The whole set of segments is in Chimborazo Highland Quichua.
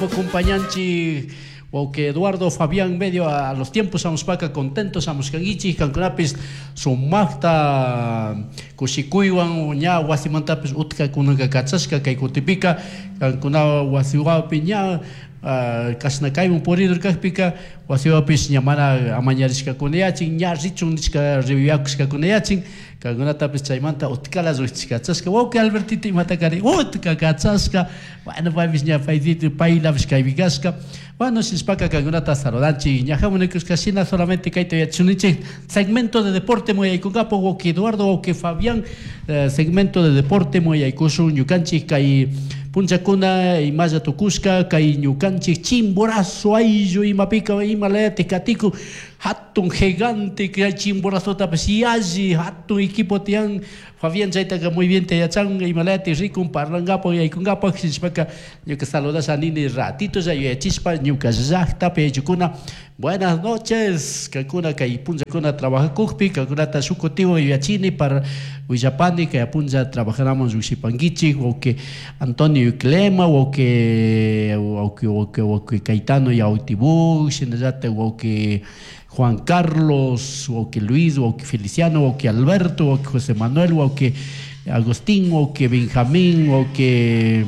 Compañanchik wawqi Eduardo Fabián medio a los tiempos hamushpaka contentos hamushkankichik kankunapis sumaqta kushikuywan ña wasimantapis utka kunanka kachashka kay kutipika kankuna wasiwapi ña kashna kaywan puridur kakpika wasiwapis ña mana amañarishkakunayachin ña richun nishka riwiyakushkakunayachin kankunatapis chaymanta utkala llukchishkachashka wawqi Albertito imata kari utka kachashka bueno paypis ña paytito paylapish kaypi kashka bueno shishpaka kankunata saludanchik ñajamun nikushka shina solamente kayta yachashunichik segmento de deporte muyaykunkapak wawqi Eduardo wawqi Fabián segmento de deporte muyaykushun ñukanchik kay punllakuna imalla tukushka kay ñukanchik Chimborazo ayllu imapika imalayatik katikun hatun gigante kay Chimborazotapish yalli hatun equipo tiyan Fabián chaytaka muy bien te yachan imalayatik rikun parlankapak yaykunkapak shishpaka ñuka saludasha nini ratito ya yuyachishpa ñuka llaktapi ayllukuna buenas noches kankuna kay punllakuna trabajacukpi kankunata shuk kutiwan yuyachini para willapani kay punlla trabajanaman llukshipankichik wawqi Antonio Iclema wawqi wawqi wawqi wawqi Caetano Yautibú shinallatak wawqi Juan Carlos wawqi Luis wawqi Feliciano wawqi Alberto wawqi José Manuel wawqi Agustín wawqi Benjamín wawqi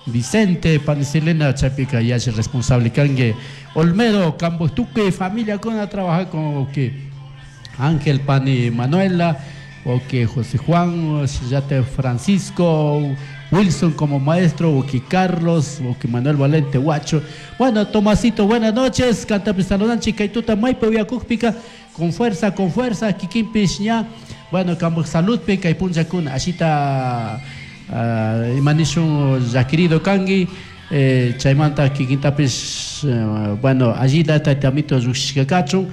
Vicente Panicelena chaypika yalli responsable kanki Olmedo kampak tukuy familiakuna trabajakun wawqi Ángel Pani Manuela wawqi José Juan shinallatak Francisco Wilson como maestro wawqi Carlos wawqi Manuel Valente Huacho bueno Tomasito buenas noches kantapis saludanchik kay tuta maypi uyakukpika con fuerza con fuerza kikinpish ña bueno kampak saludpi kay punllakuna ashita ima nishun llakirido kanki chaymanta kikintapish bueno allita tayta amito llukshishka kachun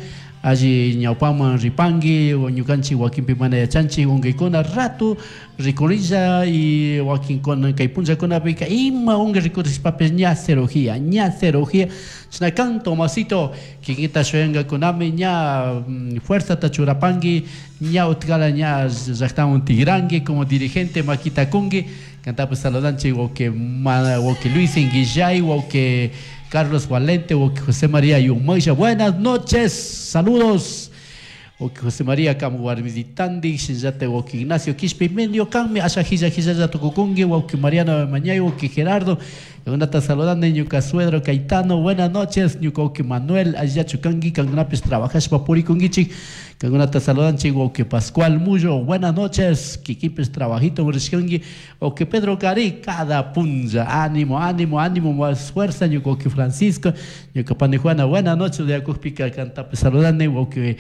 alli ñawpaman ripanki ñukanchik wakinpi mana yachanchik unkuykuna rato rikurilla y wakinkuna kay punllakunapika ima unkuy rikurishpapis ña cirugía ña cirugía chashna kan Tomasito kikinta shuyankakunami ña fuerzata churapanki ña utkala ña llaktaman tigranki como dirigente makita kunki kantapish saludanchik wawqi wawqi Luis Inguillay wawqi Carlos Valente wawqi José María Yumaylla buenas noches saludos wawqi José María kamu warmisitandik shinallatak wawqi Ignacio Quishpi medio kanmi asha hilla hillalla tukukunki wawqi Mariano Mañay wawqi Gerardo kankunata saludani ñuka suegro Caetano buenas noches ñuka wawqi Manuel allillachu kanki kankunapish trabajashpa purikunkichik kankunata saludanchik wawqi Pascual Mullo buenas noches kikinpish trabajito rishkanki wawqi Pedro Cari cada punlla ánimo ánimo ánimo más fuerza ñuka wawqi Francisco ñuka pani Juana buenas noches yakukpika kantapish saludani wawqi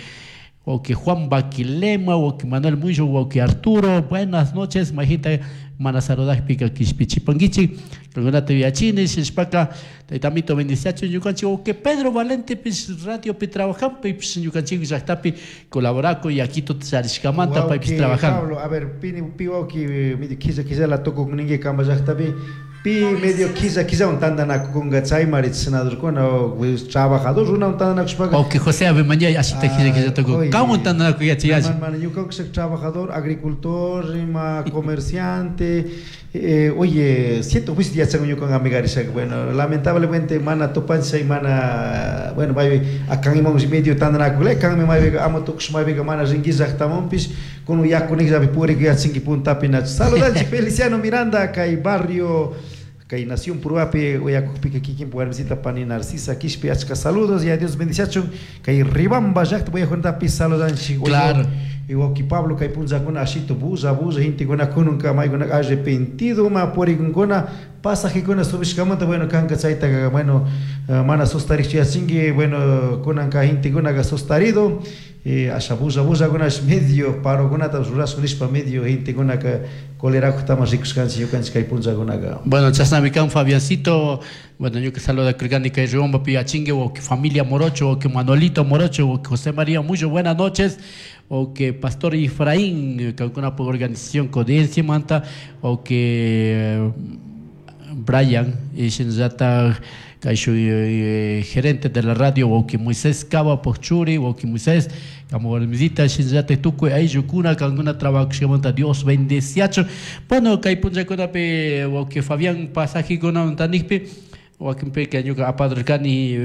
wawqi Juan Baquilema wawqi Manuel Mullo wawqi Arturo buenas noches majita mana saludakpika kishpichipankichik kankunata yuyachini shishpaka tayta amito bendiciachun ñukanchik wawqi Pedro Valentepish radiopi trabajan paypish ñukanchik llaktapi colaborakun yakituta charishkamanta paypish Wawqi trabajan. Pablo, a ver, pini pi wawqi medio killa killala tukuk ninki kamba llaktapi pi medio killa killawan tantanakukunka chaymari senadorkuna trabajador runawan tantanakushpaka Wawqi José Abemañay ashita killa killa tukuk kanwan tantanakuy yachayalli. Mana ñuka trabajador, agricultor, ima comerciante, oye, siento juicio yachan ñuka amigarisha, bueno, lamentablemente mana tupanchay mana, bueno, maybe akan imam medio tantanakule, kan mi maybe amo tukush maybe mana rinki llaktamanpish, kun yakunik purik yachinki puntapi nach. Saludanchik Feliciano Miranda kay barrio kay Nación Puruapi uyakukpika kikinpa warmisita pani Narcisa Quishpi achka saludos y a Dios bendiciachun kay Ribamba llakta uyajuntapi saludanchik. Claro. Y wawqi Pablo kay punllakuna ashito bulla bulla gentekuna kununka maykuna arrepentido ma purikunkuna pasajekuna subishkamanta bueno kanka chayta bueno mana sustarikchu yachinki bueno kunanka gentekunaka sustarido asha bulla bullakunash medio parokunata rurashun nishpa medio gentekunaka colerakutama rikushkanchik ñukanchik kay punllakunaka. Bueno, chashnami kan Fabiancito, bueno, ñuka saluda kurkani kay Riobambapi yachinki wawqi familia Morocho, wawqi Manuelito Morocho, wawqi José María Mullo, buenas noches, wawqi Pastor Efraín, kankunapuk organización Codienciamanta, wawqi Brian, y shinallatak kayshu gerente de la radio, wawqi Moisés Cava Pochuri, wawqi Moisés, kamo warmisita, shinallatak tukuy ayllukuna kankuna trabajakushkamanta Dios bendeciachun. Bueno, kay punllakunapi wawqi Fabián pasajikunamanta nikpi, Wakinpika ñuka apadurkani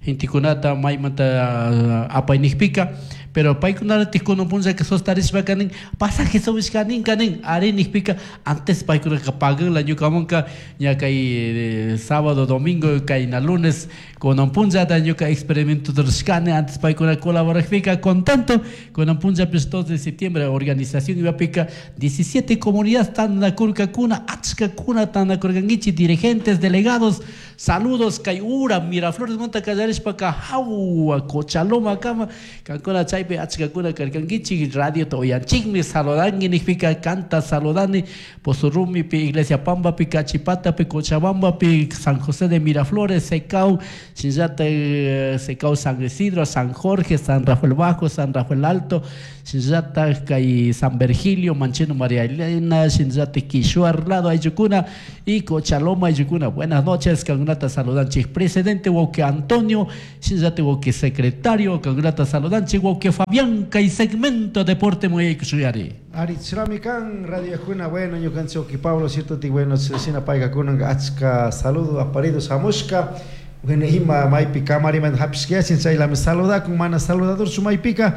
gentekunata maymanta apaynikpika, pero paykunaratik kunan punllaka sostarishpaka nin pasaje subishkaninka nin ari nikpika antes paykunaka paganla ñukamanka ña kay sábado, domingo, kayna lunes kunan punllata ñuka experimento rurashkani antes paykuna colaborakpika contento. Kunan punllapish 2 de septiembre organización imapika 17 comunidades tantanakurkakuna, achkakuna tantanakurkankichik dirigentes, delegados. Saludos kay ura Miraflores manta kallarishpaka hawa Cochaloma kama kankuna chaypi achkakuna karkankichik radiota uyanchikmi saludanki nikpika kanta saludani Pozorumipi, Iglesia Pambapi, Cachipatapi, Cochabambapi, San José de Miraflores, Secau, shinllatak Secau San Isidro, San Jorge, San Rafael Bajo, San Rafael Alto, shinllatak kay San Virgilio, Mancheno María Elena, shinllatak Quishuar lado ayllukuna y Cochaloma ayllukuna. Buenas noches, kankunata saludanchik presidente wauki Antonio, shinllatak wauki secretario, kankunata saludanchik wauki Fabián kay segmento deporte muyaykushuyari. Ari kan radio kuna bueno ñukanchik wauki Pablo cierto ti bueno shina payka kunan achka saludo aparido shamushka bueno ima maypi kamarimanta hapishkayachin chaylami saludakun mana saludador maypika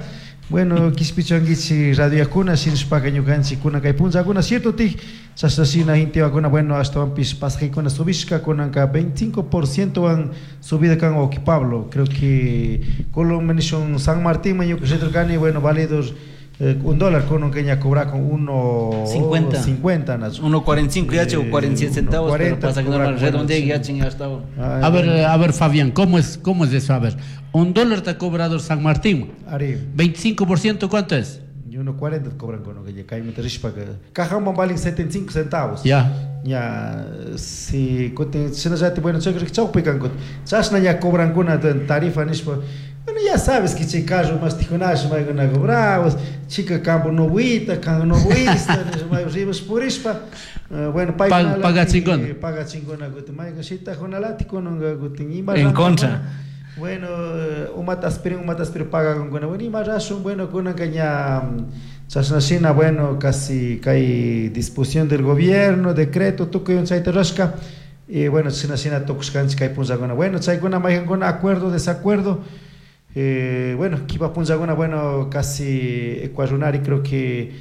bueno kishpichankichik radio kuna shinashpaka ñukanchik kunan kay punllakuna cierto ti chashna shina intewakuna bueno ashtawanpish pasajekuna subishka kunanka 25% wan subida kan wauki Pablo creo que Colón nishun San Martín man ñuka riturkani bueno válidos $1 con un que ya cobra con 1.50 50 1.45 ya o 47 centavos, 40, pero pasa que no redondea ya ya estaba. A ver Fabián, ¿cómo es eso? A ver, $1 te ha cobrado San Martín. Ari. 25% ¿cuánto es? Y 1.40 cobran con lo que ya cae Cajón valen 75 centavos. Ya. Ya si ya bueno, chashna ya cobran con tarifa nishpa. Bueno, ya sabes que chica más tijunash mai gana bravos, chica campo no buita, campo no buista, mai ribas purispa. Bueno, paga chingona. Paga chingona guti mai shita jonalati con guti en contra. Bueno, umata aspirin paga con bueno, ima razón, bueno, con caña chasnashina, bueno, casi kay disposición del gobierno, decreto, tukuy un chayta rasca. Y bueno, chasnashina tukushkanchik kay punllakuna. Bueno, chaykuna mayqankuna acuerdo, desacuerdo. Bueno, kipa punllakuna, bueno, casi ecuarunari creo que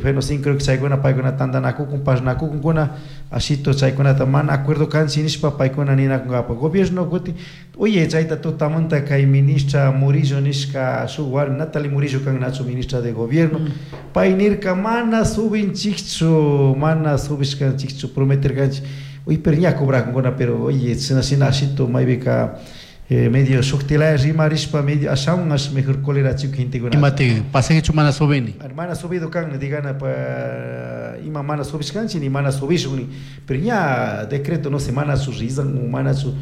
bueno, sí, creo que chaykuna paykuna tantanakukun, parnakukunkuna, ashito chaykunata mana acuerdo kanchi nishpa paykuna ninakunkapa gobierno kuti oye chayta tutamanta kay ministra Murillo nishka shuk warmi Natalie Murillo kan nachu ministra de gobierno pay nirka mana subinchikchu mana subishkanchikchu prometerkanchik uy pero ña cobrakunkuna pero oye shina shina ashito maybika medio shuktilaya rimarishpa medio ashaun ash mejor cólera chico gentekuna. Imate pasajechu mana subini. Mana subido kan digana pa ima mana subishkanchi ni mana subishun pero ña decreto no se mana su rizan mana su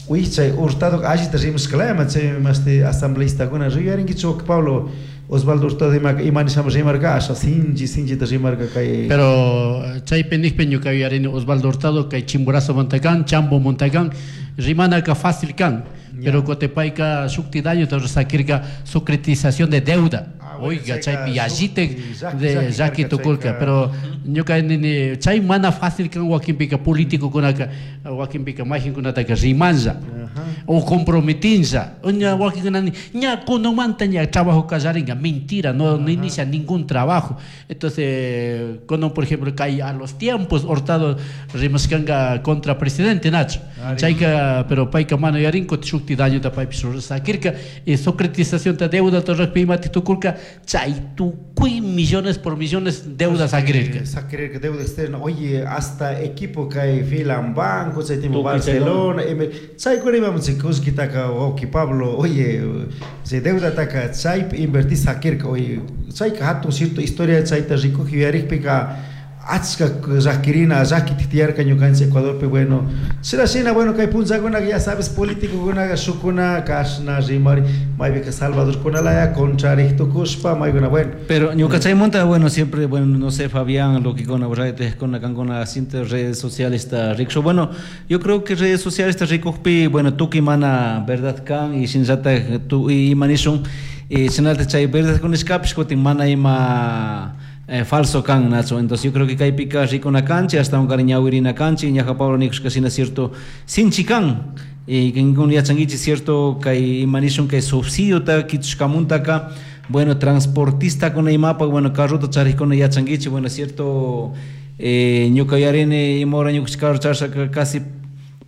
uy chay Hurtado allita rimashkalaya ma chay maste asambleístakuna riyarinkichu Pablo Osvaldo Hurtado ima nishama rimarka asha sinchi sinchita rimarka kay pero chaypi nikpi ñuka yuyarini Osvaldo Hurtado kay Chimborazo montakan Chambo montakan rimanaka fácil kan. Pero Cotepaica shukti daño sakirka secretización de deuda. Oiga, chaypi yallite de llaki tukurka, pero ñuka nini chay mana fácil kan wakinpika político kunaka wakinpika mayqinkunataka rimanlla o comprometinlla. Ña wakinkuna ña kunanmanta ña trabajo kallarinka, mentira, no inicia ningún trabajo. Entonces, cuando por ejemplo kay a los tiempos Hurtado rimashkanka contra presidente Nacho. Chayka pero payka mana yarinko shukti daño ta paypi sakirka y secretización de deuda torrekpi imati tukurka chay tukuy millones por millones deudas sakirirka. Sakirirka deuda externa. Oye, hasta equipo kay filan banco, chay tipo Barcelona, chaykuna imam kullkitaka wawqi Pablo, oye, chay deudataka chaypi invertir sakirka, oye, chayka hatun cierto historia chayta rikuji yuyarikpika achka llakirina llakita tiyarka ñukanchik Ecuadorpi bueno shina shina bueno kay punllakunaka ya sabes políticokunaka shukuna kashna rimari maypika Salvadorkunalaya contrarik tukushpa maykuna bueno pero ñuka chaymunta bueno siempre bueno no sé Fabián lo que con redes con kankuna redes sociales está rico bueno yo creo que redes sociales está rikukpi bueno tukuy mana verdad kan y shinallatak tu imanishun shinalta chay verdad kunishkapish kutin mana ima Falso kan, Nacho. Entonces yo creo que kaypika rikuna kanchik, ashtawankari ñawirina kanchik, ñaja Pablo nikushka shina cierto sinchi kan. Y kinkuna yachankichik cierto kay ima nishun kay subsidiota kichushkamuntaka, bueno, transportistakuna imapak, bueno, carrota charikuna yachankichik, bueno, cierto, ñuka yarini ima hora ñukanchik carro charishaka casi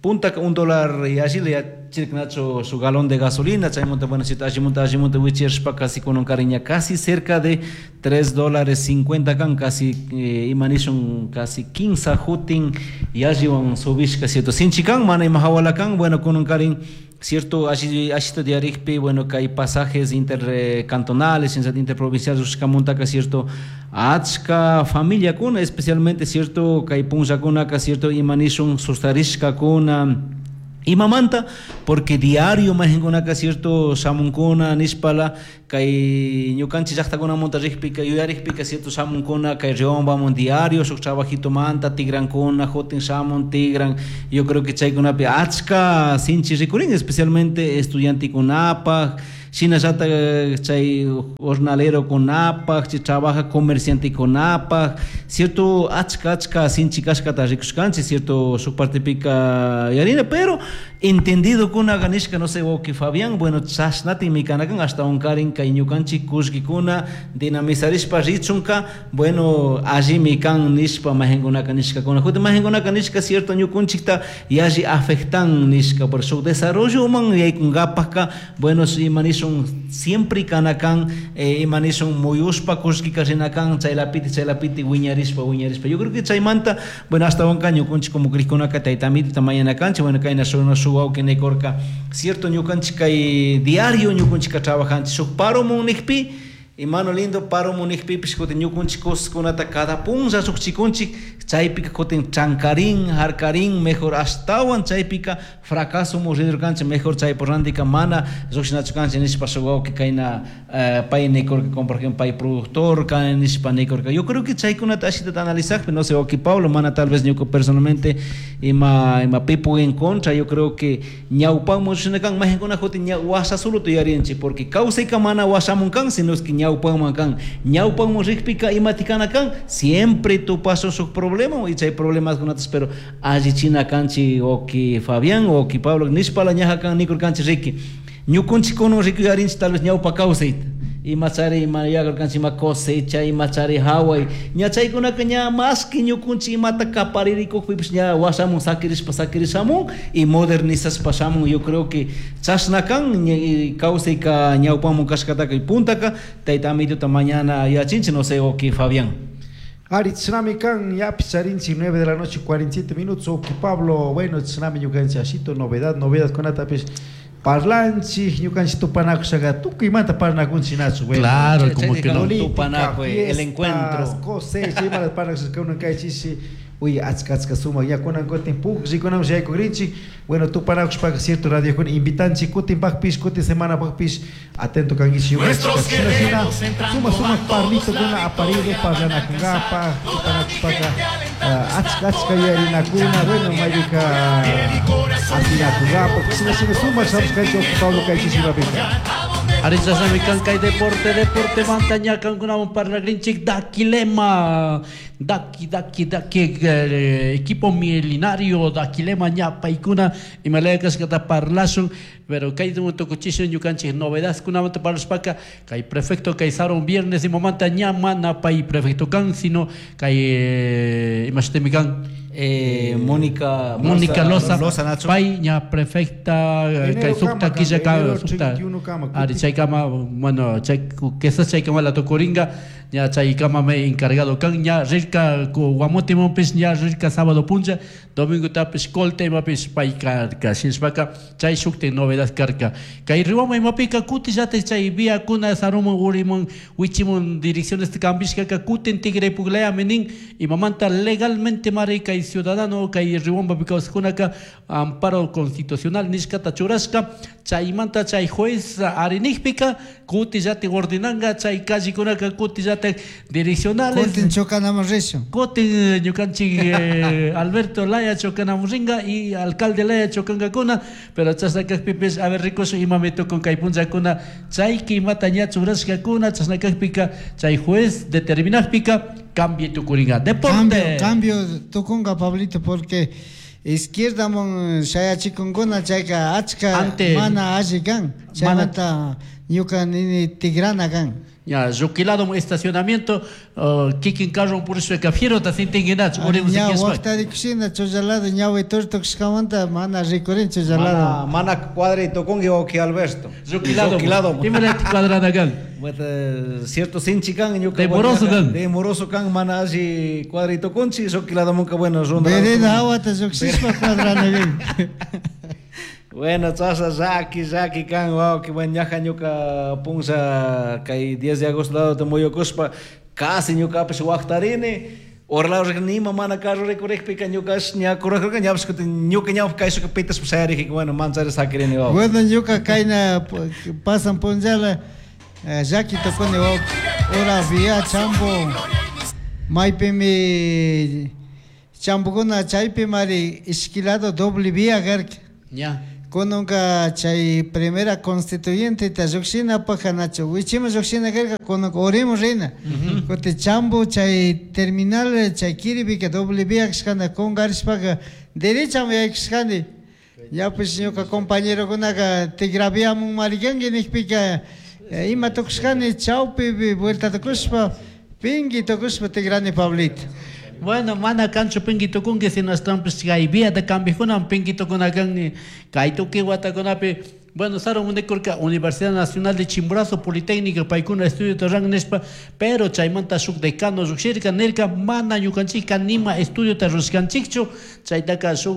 puntaka $1 y allí le chirk Nacho su galón de gasolina, chaymunta, bueno, cierto, allimunta, allimunta wichirshpa casi con un cariña casi cerca de $3.50 kan, casi, ima nishun, casi 15 jutin y alliwan subishka, cierto, sinchi kan, mana ima hawala kan, bueno, con un cariñ, cierto, allí, allí diarikpi, bueno, que hay pasajes intercantonales, interprovinciales, ushkamuntaka, cierto, achka familia kuna, especialmente, cierto, kay punllakuna, ka, cierto, ima nishun, sustarishka kuna, imamanta, porque diario majenkunaka, cierto, shamunkuna, nishpala, kay ñukanchik llaqtakunamunta riqpika, yuyarikpika, cierto, shamunkuna, kay Riobambamun diario, shuk trabajito manta, tigrankuna, jotin shamun, tigran, yo creo que chaykunapi achka sinchi rikurin, especialmente estudiantikunapaj, shinallata chay jornalero kunapaj, chay trabaja comerciante kunapaj, cierto, achka, achka sinchi kashkata rikushkanchik, cierto, shuk partepika yarina, pero entendido kuna ganishka, no sé, que Fabián, bueno, chashnati mikanakan, hasta un karin kay ñukanchik kullkikuna dinamizarishpa richunka, bueno, allimi kan nishpa majenkunaka nishkakuna, justo majenkunaka nishka, cierto, ñukunchikta yalli afectan nishka, por su desarrollo man yaykunkapajka, bueno, si manishun siempre kanakan, imanishun muyushpa kullkika rinakan, chaylapiti, chaylapiti, wiñarishpa, wiñarishpa. Yo creo que chaymanta, bueno, hasta un caño kunchik como krikkunaka taytamita mañanakanchik, bueno, kayna shuna shuwawki nikurka, cierto, ñukanchik kay diario ñukunchika trabajanchik, shuk paro munnikpi, imano lindo paro munnikpipish kutin ñukunchik cosaskunata cada punlla shukchikunchik, chaypika kutin chankarin, harkarin, mejor ashtawan chaypika fracaso murirkanchik, mejor chay por randika mana lluqshinachu kanchik nishpa shuk wawki kayna, pay nikurka, como por ejemplo pay productor kan nishpa nikurka. Yo creo que chaykunata ashitata analizakpi, no sé, wawki Pablo, mana tal vez ñuka personalmente ima pipu en contra, yo creo que ñawpanman lluqshinakan, majinkuna kutin ña wasa solo tuyarinchik, porque kawsayka mana wasamun kan, sino es que ñawpanman kan, ñawpanman rikpika imatikana kan, siempre tupasun shuk problema, y chay problemas kunatas, pero allichina kanchi oki Fabián oki Pablo nishpala ñaja kan nikurkanchi riki ñukunchik kunun rikuyarinchik tal vez ñawpa kawsayta, ima chari ima yakurkanchik ima cosecha ima chari haway ña chaykunaka ña más que ñukunchik imata kaparirikukpipish ña wasamun sakirishpa sakirishamun y modernizashpa shamun. Yo creo que chashna kan ña, y kawsayka ñawpamun kashkataka y puntaka tayta amituta mañana yachinchik, no sé, oki Fabián. Ari, tsunami kan, ya picharinchi, 9 de la noche, 47 minutos. Oki Pablo, bueno, tsunami ñukanchi, ashito, novedad, novedad con atapis. Parlanchi, ñukanchi tupanakushaga, tukuy manta parnakunchi nacho, bueno. Claro, Che, como che, que no. Política, Tupanaku, el fiestas, encuentro. Cosecha, ima las parnakushaga, uno kay chishi. Uy, achka, achka, suma, ya kunan kutin, puk, rikunam, yayku grinchi. Bueno, tupanakushpaka, cierto, radio kun, invitanchi, kutin pakpish, kutin semana pakpish, atento kangichi, bueno, Nuestros chicas, sina, sina, guerreros entrando suma, suma, a todos parlito la kuna, aparire, victoria parlana van a kungapa, alcanzar. tupanakushpaka, Toda mi gente alentando achka, está achka, toda la yarinakuna, hinchada bueno, viene a mayuka, apoyar. El corazón asina se kungapa, alegra, sina, sina, suma, suma, sabes, kanchi, Pablo, kanchi, sina, pika. Aricha sami kan kay deporte, deporte montaña kan kunawan parlagrinchik Daquilema, Daki, Daki, Daki, equipo milenario Daquilema ña paikuna imalaya kashkata parlashun, pero kay tukuchishun ñukanchik novedad kunamanta parlashpaka kay prefecto kay saron viernes y momanta ña mana pay prefecto kan, sino kay imashtemi kan. Mónica Mónica Loza, Loza, Nacho. Pay ña prefecta, Enero kay sukta kama, quilla ka, enero sukta. 31 kama, Ari, kuti. chay kama, bueno, chay, quesas chay kama la tocoringa, ña chay kama me encargado kan, ña rirka, ku guamote mompis, ña rirka sábado puncha, domingo tapis colte, mapis pay karka, shinshpaka, chay shukte novedad karka. Kay riwama imapika kuti yate chay vía kuna sarumun, urimun, wichimun, direcciones cambishka, ka kutin tigre puglea menin, y mamanta legalmente mari kay ciudadano, kay riwamba pikawskunaka, amparo constitucional, nishkata churashka, chaymanta chay juez arinijpika, kuti yate ordenanga, chay callekunaka, kuti yate Shinallata direccionales. Kutin chocanamun rishun. Kutin ñukanchik Alberto Laya chocanamun ringa y alcalde Laya chocankakuna, pero chashna kajpipis a ver rikushun imami tukun kay punllakuna chayki imata ña churashkakuna chashna kajpika chay juez determinajpika cambio tukuringa. Deporte. Cambio tukunga, Pablito, porque izquierdaman shayachikunkuna chayka achka mana alli kan. Chaymanta ñuka nini tigrana kan. Ya, Ruquilado estacionamiento, kikin carro purishpa fiero ta sintinguinachu, Ña waqtarikushina chullalado ñawi turtukushkamanta mana rikurin chullalado. Mana cuadrito con que Alberto. Ruquilado. Imalati cuadrada kan. Cierto sinchi kan ñuka. Demoroso kan. Demoroso kan mana alli cuadrito conchi, Ruquilado munka bueno ronda. Vereda agua ta lluqshishpa cuadrana kan. Bueno, chasha llaki kan, wow, que buen ñaja ñuka punza kay 10 de agosto lado te muyukuspa, casi ñukapish waqtarini, orlado nima mana carro rikurikpika ñukash ña kurajurka ñapish kutin ñuka ñawpa kayshuka pitashpa shayariji, bueno, manchari sakirini, wow. Bueno, ñuka kayna pasan punllala llaki tukuni, wow, ora vía chambo, maypimi chambukuna chaypi mari ishkilado doble vía karka. Ya. Kununka chay primera constituyente ta lluqshina pajanachu wichima lluqshina karka kununka urimu rina. Kuti chambo chay terminal chay kiripika doble vía kashkana kunkarishpaka derechami yaykashkani. Ñapish ñuka compañerokunaka tigraviamun marikanki nikpika ima tukushkani chawpipi vuelta tukushpa pinki tukushpa tigrani Pablito. Bueno, mana kanchu pinki tukunki, sino estampis kay vía de cambiojuna pinki tukunakan kay tuki watakunapi. Bueno, Sarun unikurka Universidad Nacional de Chimborazo, Politécnica, paykuna estudio tarran nishpa, pero chaymanta shuk decano lluqshirka nirka mana ñukanchikka nima estudio tarrushkanchikchu, chaytaka shuk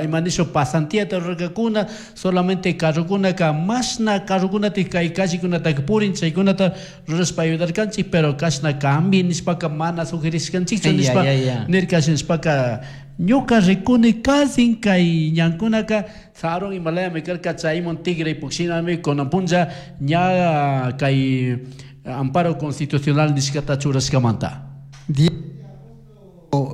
imanisho pasantía tarrurkakuna, solamente carrokunaka mashna carrokunata kay callekunataka purin, chaykunata rurashpa ayudarkanchik, pero kashna cambi nishpaka mana sugerishkanchikchu nishpa nirka nishpaka ñuka rikuni kasin kay ñankunaka sarun Himalaya karka chaymun tigre pukshinami kunan punlla ña kay amparo constitucional nishkata churashkamanta.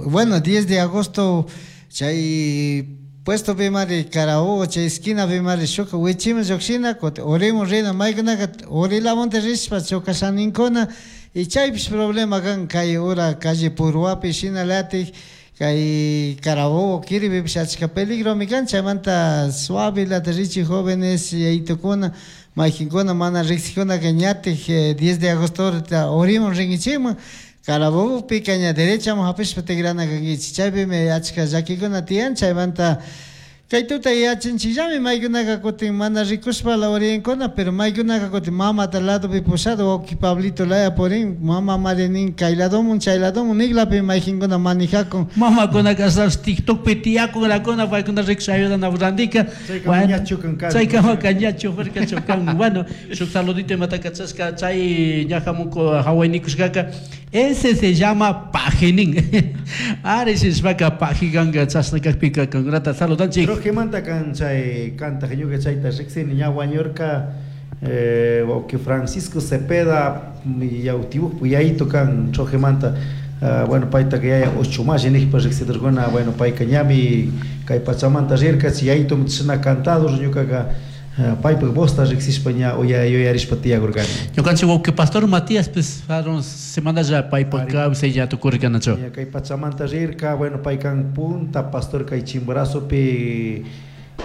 Bueno, 10 de agosto chay puesto bimari Carabobo chay esquina bimari shuka wichima lluqshina kuti urimun rina maykunaka urilamunta rishpa chukashaninkuna y chaypish problema kan kay ura calle Puruapi shinalatik kay Carabobo kiripipish achka peligromi kan chaymanta suave lata richi jóvenes yaytukuna maykinkuna mana riqsikunaka ñatik 10 de agosto urimun rinkichikman Carabobopika ña derechaman hapishpa tigrana kankichik chaypimi achka llakikuna tiyan chaymanta kay tuta yachanchikllami maykunaka kutin mana rikushpa la oriyankuna pero maykunaka kutin mamata ladopi pushado wawki Pablito laya purin mama mari nin kay ladomun chay ladomun niklapi maykinkuna manijakun mamakunaka ashtawanpish TikTokpi tiyakunlakuna paykuna rikusha ayudana randika chaykamaka ña chufarka chukan. Bueno, shuk saludito imata kachashka chay ñajamunku hawaynikushkaka ese se llama pajinin. Ari shishpaka pajikanka chashna kakpika kankunata saludanchik. Trojemanta kan chay kantaq ñuka chayta riqsini ña wañurka wawqi Francisco Cepeda yawtiwuq yayito kan Trojemanta bueno paytaka yaya ocho mashi niqpa riqsiturquna bueno payka ñami kay pachamanta rirka chay yayitomi chashna cantado ñukaqa paypaq vosta riqsishpa ña yuyarishpa tiyakurqani. Ñukanchik wawqi pastor Matías pues fueron semanalla paypaq kawsay ña tukurqanachu. Kay pachamanta rirka bueno paykan punta pastor kay Chimborazopi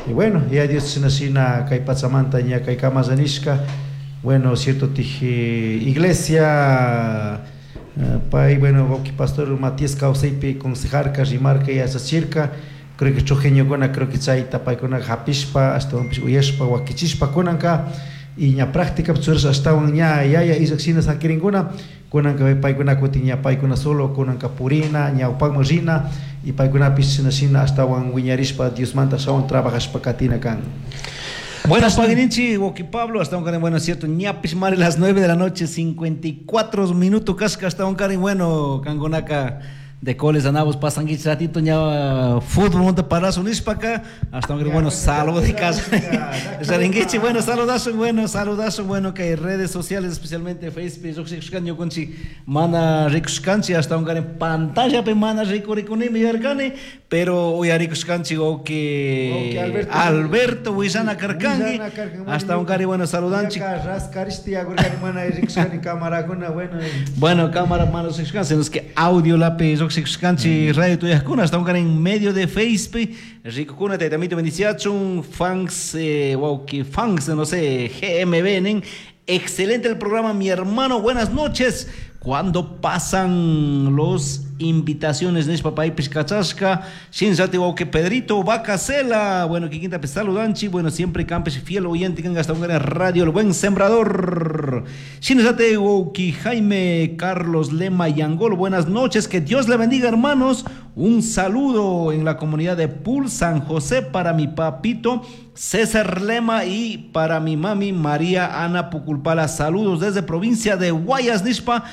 y bueno ya Dios shina shina kay pachamanta ña kay kamalla nishka bueno cierto tiji iglesia pay bueno wawqi pastor Matías kawsaypi consejarka rimarka yachachirka creo que chojeñokuna creo que chayta paykuna hapishpa ashtawanpish uyashpa wakichishpa kunanka y ña práctica churash ashtawan ña yaya illak shina sakirinkuna kunanka paykuna kutin ña paykuna solo kunanka purina ñawpakman rina y paykunapish shina shina ashtawan wiñarishpa Diosmanta ashtawan trabajashpa katina kan. Bueno, Pagninchi, Woki Pablo, hasta un bueno, es cierto, ñapis mare las 9 de la noche, 54 minutos, casca, hasta un cari bueno, Cangonaca. De coles anabos pasanguich ratito ña fútbol monte parazo nishpaka hasta un bueno saludo de casa. Saringuichi, bueno, saludazo, bueno, saludazo, bueno, que hay redes sociales, especialmente Facebook, lluqshikushkan ñukunchik mana rikushkanchik hasta un en pantalla pe mana rikurikuni yarkani, pero uyarikushkanchik que Alberto, Alberto willana karkanki hasta un cari bueno saludanchik. Raskarishti agurkani mana rikushkani cámarakuna, bueno. Bueno, cámara mana rikushkanchik, los que audio lapi lluqshikushkanchik radio tuyajkuna hasta un cari en medio de Facebook rikukuna taytamito bendiciachun fans wow que fans no sé GMB nen. Excelente el programa, mi hermano, buenas noches. Cuando pasan los invitaciones nishpa paypish kachashka shinllati wawqi Pedrito Bacasela, bueno, kikinta saludanchi, bueno, siempre campes fiel oyente kan hasta un radio El Buen Sembrador. Shinllati wawqi Jaime Carlos Lema Yangol, buenas noches, que Dios le bendiga, hermanos. Un saludo en la comunidad de Pul San José para mi papito César Lema y para mi mami María Ana Puculpala. Saludos desde provincia de Guayas, nishpa.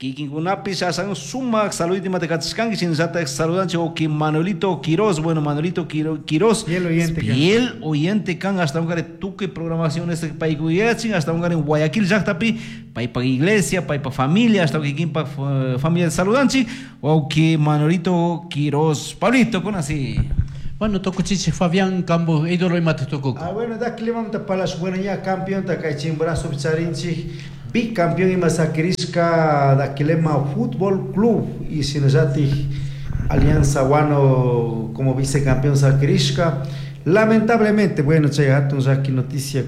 Kikinkunapi asan sumak saludito imatekachishkanki shinallatak saludanchik wawqi Manuelito Quiroz, bueno, Manuelito Quiroz, Fiel oyente kan. fiel oyente kan hasta un tukuy programación este paykuyachin hasta un en Guayaquil llaqtapi paypa iglesia, paypa familia, hasta kikinpa familia saludanchik wawqi Manuelito Quiroz. Pablito, con así. Bueno, tukuchichik Fabián Cambo, ídolo imata tukuku. Ah, bueno, da clima palash, bueno, ya campeón ta kay Chimborazo charinchik bicampeón ima sakirishka Daquilema Fútbol Club y shinallatik Alianza Guano como vicecampeón sakirishka. Lamentablemente, bueno, chay hatun llaki noticia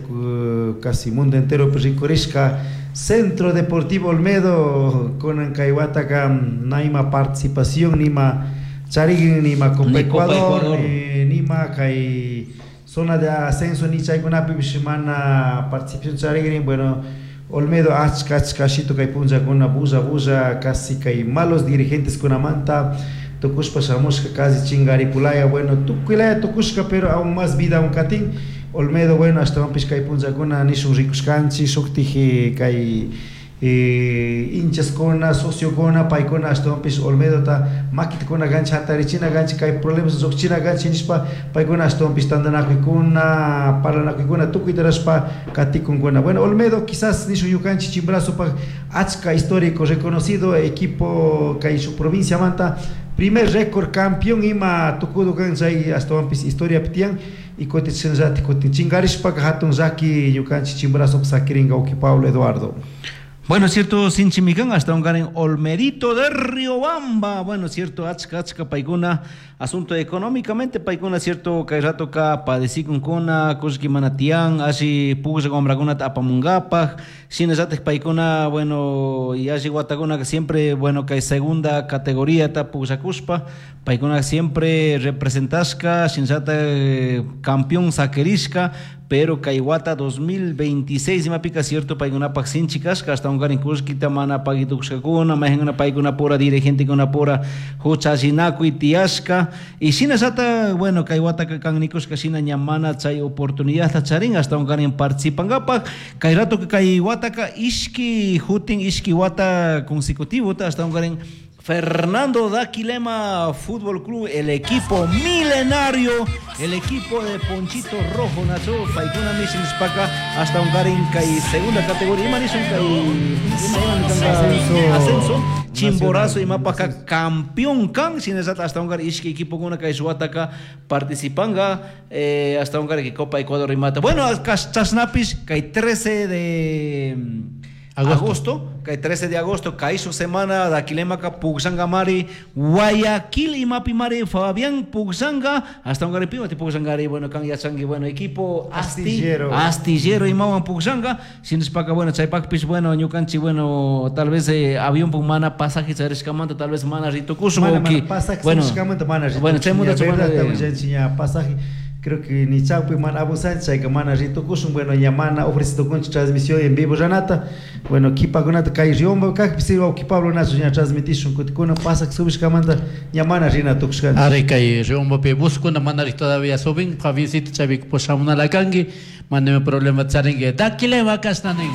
casi mundo entero rikurishka Centro Deportivo Olmedo con kay wataka naima participación nima charigin nima Copa Ni Copa Ecuador, Ecuador. nima kay zona de ascenso ni chaykunapi mana participación charigin, bueno, Olmedo achka achka shito kay punllakuna bulla bulla casi kay malos dirigentes kunamanta tukushpa shamushka casi chingaripulaya, bueno, tukuylaya tukushka pero aún más vida aún katin Olmedo, bueno, ashtawanpish kay punllakuna nishun rikushkanchik shuktik kay hinchaskuna, sociokuna, paykuna ashtawanpish Olmedota makitakuna kanchik hatarichina kanchik kay problemas lluqchina kanchik nishpa paykuna ashtawanpish tantanakuykuna, parlanakuykuna tukuyta rashpa katikunkuna. Bueno, Olmedo quizás nishun ñukanchik Chimborazopak achka histórico reconocido equipo kay shuk provinciamanta primer récord campeón ima tukudu kan chay ashtawanpish historia tiyan y kutin shinallatik kutin chinkarishpaka hatun llaki ñukanchik Chimborazopak sakirinka wawqi Pablo Eduardo. Bueno, cierto, Sinchimicán, hasta un en Olmedito de Riobamba. Bueno, cierto, achka, achka, paikuna, asunto económicamente, paikuna, cierto, kay rato ka padecikun kuna, kushki manatián, así pugsa gombraguna apamungapaj, shinallatik paikuna, bueno, y así guataguna que siempre, bueno, que segunda categoría ta pugsakuspa, paikuna siempre representasca, shinallata campeón saquerisca, pero kay wata 2026 imapica cierto paykunapak sinchi kashka hasta unkarin kullkita mana pagitukushkakuna mayjankuna paykuna pura dirigentekuna pura huchallinakuy tiyashka y shinallata bueno kay wataka kan nikushka shina ña mana chay oportunidadta charin hasta unkarin participankapak kay rato kay wataka ishki hutin ishki wata consecutivota hasta unkarin Fernando Daquilema Fútbol Club, el equipo milenario, el equipo de Ponchito Rojo, Nacho, Paikuna Mission Spaca, hasta un kay segunda categoría, ima nishun kay Ascenso. ascenso, Chimborazo y Mapaca Ascenso. campeón kan, sin esa hasta un ishki equipo kuna kay shuwataka participanga, hasta un que Copa Ecuador y mata. Bueno, chasnapis kay 13 de Agosto. agosto, kay 13 de agosto, kay su semana Daquilemaka Pugsanga mari, Guayaquil imapi mari, Fabián Pugsanga, hasta un pima ti Pugsangari, bueno, kan yachangi, bueno, equipo Astillero. Astillero imawan Pugsanga, shinaspaka, bueno, chaypakpish, bueno, ñukanchik, bueno, tal vez avión pumana pasaje charishkamanta, tal vez mana ritukushun, Mana, wawqi. mana, pasaje bueno, charishkamanta mana bueno, chaymanta ritukushun, mana verdad, de- willanchik pasaje creo que ni chawpi mana abusanchik chayka mana ritukushun, bueno, ña mana ofrecitukunchik transmisión en vivo ranata, bueno, kipakunata kay Riobamba kajpi si wawqi Pablo Nacho ña transmitishun kutikuna pasaje subishkamanta ña mana rina tukushkanchik. Ari kay Riobambapi buskuna manari todavía subin, Fabiancito chaypi pushamunala kanki, mana problema charinki. Daquilema kashna nin.